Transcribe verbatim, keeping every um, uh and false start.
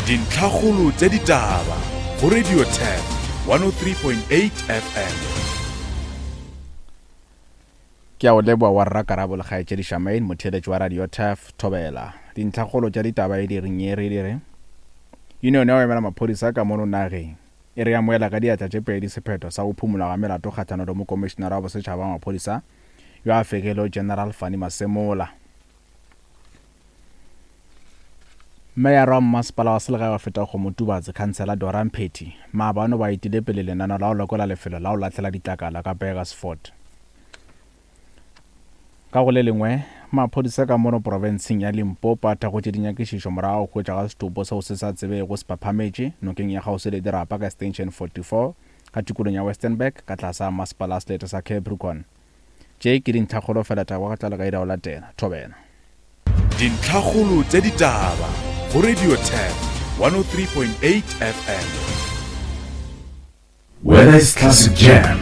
Dintlhakgolo tša ditaba go Radio Turf one oh three point eight F M. Ke a o leboa wa rra Karabo le kgaetšedi Shamaine, motheeletši wa Radio Turf Thobela. Dintlhakgolo tša ditaba e di reng ye re di re Union ya go emela maphodisa ka mono nageng e re amoela ka diatla tše pedi sephetho sa go phumolwa ga melato kgahlano le mokomišenara wa bosetšhaba wa maphodisa yo a fegilego General Fannie Masemola. Meyara wa mmasepala wa selegae wa Fetakgomo Tubatse, Khansela Dora Mphethi, maabane ba etile pele lenaneo la go lekola lefelo la go lahlela ditlakala ka Burgersfort. Ka go le lengwe, maphodisa ka mono profenseng ya Limpopo a thakgotše dinyakišišo morago ga go hwetša ga setopo seo se sa tsebego se phaphametše nokeng ya kgauswi le dirapa ka Extension forty-four ka tikolong ya Westenburg ka tlase ga masepala wa selete sa Capricorn. Tše ke dintlhakgolo fela taba ga tlala ka ira go latela. Thobela. Dintlhakgolo tša ditaba go Radio Turf one oh three point eight F M. Whether it's classic jam,